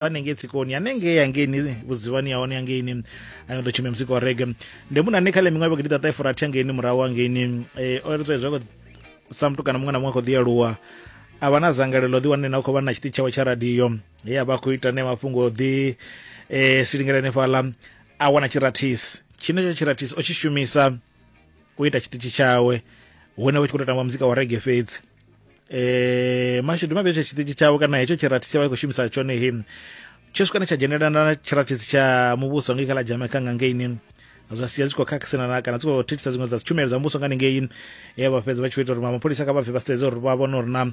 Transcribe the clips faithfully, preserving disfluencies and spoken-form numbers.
Hanengei tsikoni hanengei hangeini vhudzivani ya hone hangeini ane ḓo tshumia muzika wa reggae. Ndi munna ane kha ḽa miṅwaha vhagidi ṱaṱahe furathi hangeini murahu hangeini eh, o ri zwa sa muthu kana muṅwe na muṅwe a khou ḓi aluwa a vha na dzangalelo ḓi wane na u khou vha na tshiṱitshi tshawe tsha radio he a vha a khou ita ne mafhungo ḓi eh, silingela hanefhaḽa a wana tshirathisi tshine tsho tshirathisi o tshi shumisa u ita tshiṱitshi tshawe hune vha tshi khou tou tamba muzika wa reggae fhedzi. Eh mashudu mavhi tsho tshiṱitshi tshawe kana hetsho tshirathisi vha khou shumisa tshone he tsho swika tsha dzhenelana na tshirathisi tsha muvhuso ngei kha ḽa Jamaica nga ngeini zwa sia zwi khou khakhisana kana zwi khou thithisa dziṅwe dza tshumelo dza muvhuso nga hanengei he vha fhedza vha tshi ita uri mapholisa kha vha bve vha sedze uri vha vhone uri na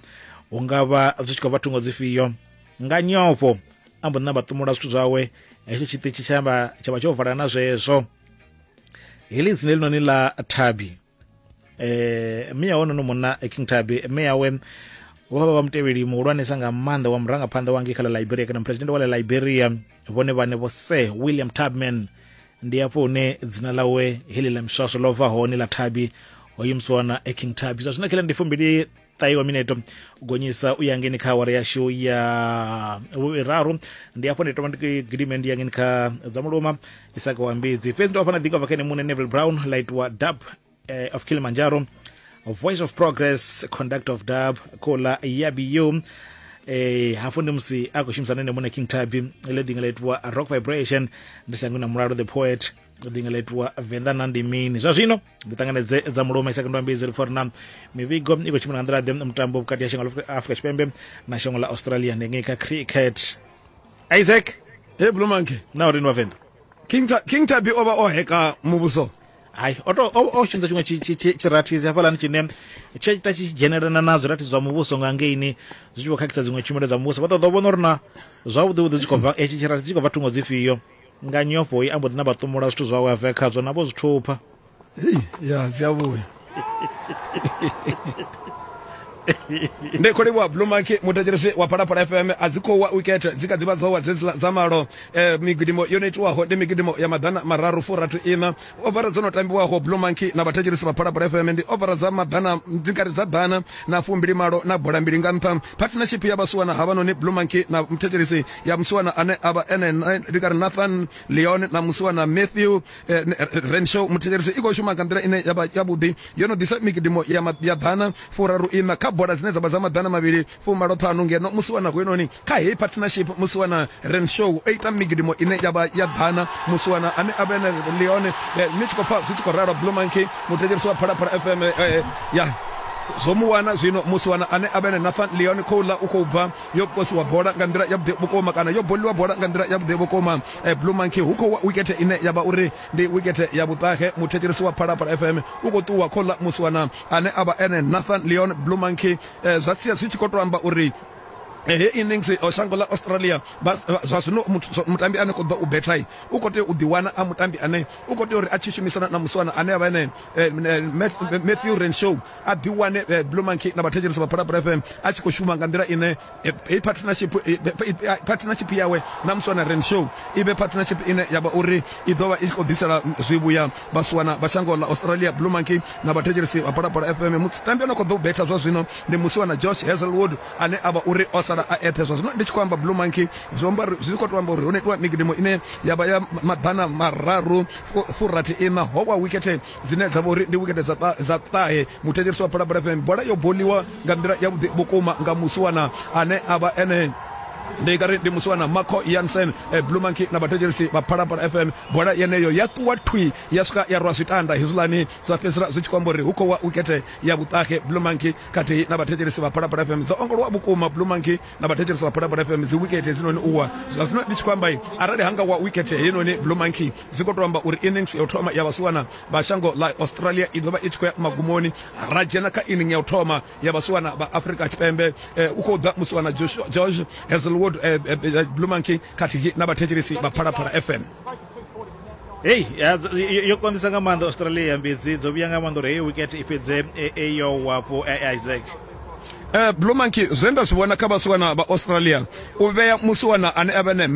hu nga vha zwi tshi khou bva thungo dzifhio. Nga nyofho a mbo ḓi namba ṱumula zwithu zwawe hetsho tshiṱitshi tsha vha tsha vha tsho vala na zwezwo. Heḽi dzina ḽinoni ḽa Thabi eh mme ya honono munna King Tubby mme yawe vho vha vha mutevheli muhulwanesa nga maanḓa wa murangaphanḓa wa ngei kha ḽa Liberia kana president wa ḽa Liberia vhone vhane vho Sir William Tubman. Ndi hafho hune dzina ḽawe heḽi ḽa miswaswo ḽo bva hone ḽa Tubby hoyu musiwana King Tubby. Zwa zwino kheḽa ndi fumbili ṱahe wa mineto u gonyisa u ya ngeni kha awara yashu ya vhuraru. Ndi hafho ndi thoma ndi gidime ndi ya ngeni kha dza muluma Isaka wa Mbidzi. Fhedzi ndo hafha na ḓinga bva kha ene muṋe Neville Brown ḽa itiwa dub eh, of Kilimanjaro, Voice of Progress, Conduct of Dub, Kola Yabiyu. Eh, hafho ndi musi a khou shumisana ene muṋe King Tubby ḽe ḓinga ḽa itiwa Rock Vibration, ndi sangwi na Mulalo the Poet ḓinga ḽa itiwa Venḓa na ndi mini. Zwa zwino ndi ṱanganedze dza muluma Isaka ndo ambidzi ri pfa uri na mivhigo i khou tshimbila nga nḓila ḓe mutambo vhukati ha shango ḽa Afrika Tshipembe na shango ḽa Australia ndi ngei kha cricket. Isaac Hey Blue Monkey. Na uri ndi Vhavenḓa King King Tubby o vha o heka muvhuso. Hai o to o shumisa tshiṅwe tshirathisi hafhaḽani tshine tshe ita tshi dzhenelana na zwirathisi zwa muvhuso nga ngeini zwi tshi vho khakhisa dziṅwe tshumelo dza muvhuso. Vha ṱoḓa u vhona uri na zwavhuḓi vhuḓi zwi khou bva etshi tshirathisi tshi khou bva thungo dzifhio. Nga nyofho i ambo ḓi na vha ṱumula zwithu zwawe a bve khazwo na vho zwi thupha. Hei ya dzi a vhuya. Ndi khou livhuwa Blue Monkey muthetshelesi wa Phalaphala F M. A dzi khou wa wicket dzi kha ḓivha dzo wa dze dza malo. Eh, migidimo yo no itiwaho ndi migidimo ya maḓana mararu furathi ina. Ovara dzo no tambiwaho Blue Monkey na vhathetshelesi vha Phalaphala F M ndi ovara dza maḓana ndi kare dza ḓana na fumbili malo na bola mbili nga nṱha. Partnership ya vhasiwana havhanoni Blue Monkey na muthetshelesi ya musiwana ane avha ene ndi kare Nathan Leon na musiwana Matthew eh, Renshaw muthetshelesi i khou shuma nga nḓila ine ya vha yavhuḓi. Yo no ḓisa migidimo ya ya ḓana furaru ina kha bola dzine dza vha dza maḓana mavhili fumalo ṱhanu ngeno musiwana hoyunoni kha heyi partnership musiwana Renshaw o ita migidimo ine ya vha ya ḓana musiwana ane a vha ene Leon ni tshi khou pfa zwi tshi khou ralo Blue Monkey muthetshelesi wa Phalaphala F M eh, ya zwo mu wana zwino musiwana ane a vha ene Nathan Leon khouḽa u khou bva yo posiwa bola nga nḓila ya vhuḓi vhukuma kana yo boliwa bola nga nḓila ya vhuḓi vhukuma. eh, Blue Monkey hu khou wa wikete ine ya vha uri ndi wikete ya vhuṱahe. Muthetshelesi wa Phalaphala F M u khou ṱuwa khouḽa musiwana ane a vha ene Nathan Leon Blue Monkey eh, zwa sia zwi tshi khou to amba uri he innings o shango ḽa Australia zwa zwino mutambi ane khou ḓo u bethai u khou tea u ḓiwana a mutambi ane u khou tea uri a tshi shumisana na musiwana ane a vha ene Matthew Renshaw a ḓiwane Blue Monkey na vhathetshelesi vha Phalaphala F M a tshi khou shuma nga nḓila ine heyi partnership partnership yawe na musiwana Renshaw i vhe partnership ine ya vha uri i ḓo vha i khou ḓisela zwivhuya vhasiwana vha shango ḽa Australia. Blue Monkey na vhathetshelesi vha Phalaphala F M mutambi ane khou ḓo u betha zwa zwino ndi musiwana Josh Hazelwood ane a vha uri o sala a ethe. Zwa zwino ndi tshi khou amba Blue Monkey zwi amba zwi khou to amba uri ho no itiwa migidimo ine ya vha ya maḓana mararu furathi ina ho wa wikete dzine dza vha uri ndi wikete dza dza ṱahe. Muthetshelesi wa Phalaphala F M bola yo boliwa nga nḓila ya vhuḓi vhukuma nga musiwana ane a vha ene ndi kare ndi musiwana Marco Jansen. eh, Blue Monkey na vhathetshelesi vha Phalaphala F M bola yeneyo ya ṱuwa thwi ya swika ya rwa zwitanda hezwiḽani zwa fhedzisela zwi tshi khou amba uri hu khou wa wikete ya vhuṱahe. Blue Monkey khathihi na vhathetshelesi vha Phalaphala F M dzo ongolowa vhukuma. Blue Monkey na vhathetshelesi vha Phalaphala F M dzi wikete hedzinoni uwa zwa zwino ndi tshi khou amba arali hanga wa wikete heinoni Blue Monkey zwi khou to amba uri innings ya u thoma ya vhasiwana vha shango ḽa Australia i ḓo vha i tshi khou ya magumoni. Ra dzhena kha inning ya u thoma ya vhasiwana vha Afrika Tshipembe eh, u khou ḓa musiwana Josh, Josh Hazelwood eh, eh, Blue Monkey khathihi na vhathetshelesi vha Phalaphala F M. Hey, yo konḓisa nga maanḓa Australia mbidzi dzo vhuya nga maanḓa uri heyi wicket i fhedze e yo wapo Isaac. Uh, Blue Monkey zwe nda zwi vhona kha vhasiwana vha Australia u vhea musiwana ane a vha ne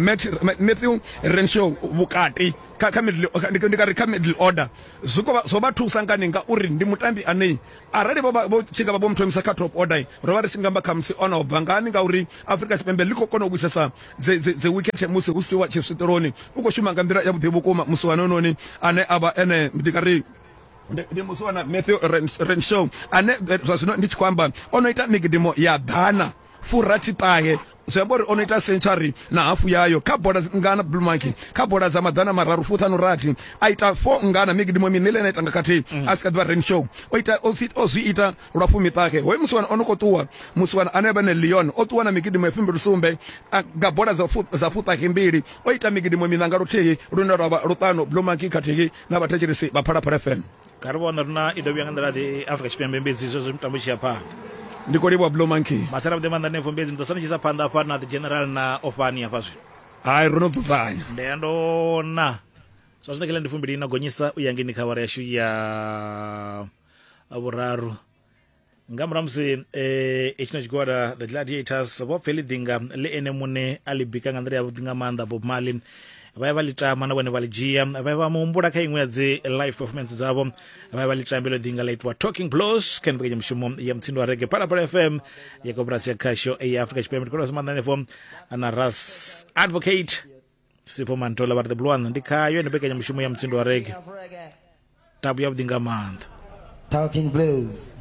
Matthew Renshaw vhukati kha kha middle ndi nga ri kha middle order zwi khou zwo vha thusa ngani ngauri ndi mutambi ane arali vho vho tshi nga vha vho muthomisa kha top order ro vha ri tshi nga amba khamusi ono bva ngani ngauri Afrika Tshipembe ḽi khou kona u vhuisesa dzi dzi dzi wicket musi hu siwa tshiswiṱeloni u khou shuma nga nḓila ya vhuḓi vhukuma musiwana ononi ane a vha ene ndi nga ri ndi musiwana Matthew Renshaw ane zwa zwino ndi tshi khou amba o no ita migidimo ya ḓana furathi ṱahe zwi amba uri o no ita century na hafu yayo kha bola ngana Blue Monkey kha bola dza maḓana mararu fuṱhanu rathi a ita four ngana migidimo miṋa ile ita nga khathihi a si kha ḓivha Renshaw o ita o zwi ita lwa fumiṱahe hoyu musiwana o no khou ṱuwa musiwana ane vha ne Leon o ṱuwa na migidimo ya fumbili sumbe nga bola dza dza fuṱahe mbili o ita migidimo miṋa nga luthihi lune lwa vha luṱanu Blue Monkey khathihi na vhathetshelesi vha Phalaphala F M. Kha ri vhona rina i ḓo vhuya nga nḓila ḓe Afrika Tshipembe mbedzi zwezwo mitambo tshi ya phanḓa. Ndi khou livhuwa Blue Monkey. Masala vhuḓi maanḓa hanefho mbedzi ndi ḓo sala tshi isa phanḓa hafha na the general na ofani hafha zwino. Hai ro no dzudzanya. Ndi ya ndona zwa zwino kha ndi fumbili na gonyisa u ya ngeni kha awara yashu ya vhuraru. Nga murahu musi eh itshino tshigwada the Gladiators vho pfeli ḓinga ḽi ene muṋe a ḽi bika nga nḓila ya vhuḓi nga maanḓa Bob Marley vha ya vha ḽi tama na vhone vha ḽi dzhia vha ya vha muhumbula kha iṅwe ya dzi live performance dzavho vha ya vha ḽi tambela ḓinga ḽa itiwa Talking Blues kha mbekanyamushumo ya Mutsindo wa Reggae Phalaphala F M ya koporasi ya khasho ya Afrika Tshipembe. Ndi khou maanḓa hanefho na Ras Advocate Sipho Mantola vha ri the blue one ndi khayo ene mbekanyamushumo ya Mutsindo wa Reggae tabu ya vhuḓi nga maanḓa Talking Blues.